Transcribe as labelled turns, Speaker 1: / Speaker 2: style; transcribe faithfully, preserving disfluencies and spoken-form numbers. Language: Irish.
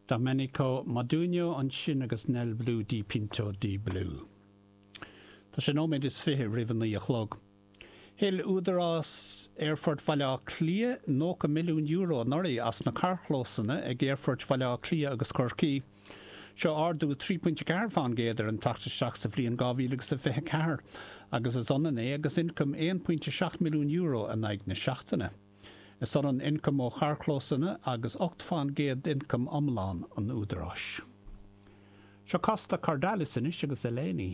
Speaker 1: Domenico Modugno ansin agus Nel Blu Dipinto di Blu. Tá sé nóiméad is fiche roimh a naoi a chlog. Thuill Údarás Aerfort Bhaile Átha Cliath nócha milliún euro anuraidh as na carrchlósanna ag Aerfoirt Bhaile Átha Cliath agus Chorcaí. Seo ardú trí phointe ceathair fán gcéad ar an teacht isteach sa bhliain dhá mhíle agus a fiche ceathair agus is ionann é agus ioncam aon pointe seacht milliún euro in aghaidh na seachtaine. Is ionann ioncam ó charrchlósanna agus ocht fán gcéad d'ioncam iomlán an Údaráis. Seo Costa Cordalis anois agus Eleni.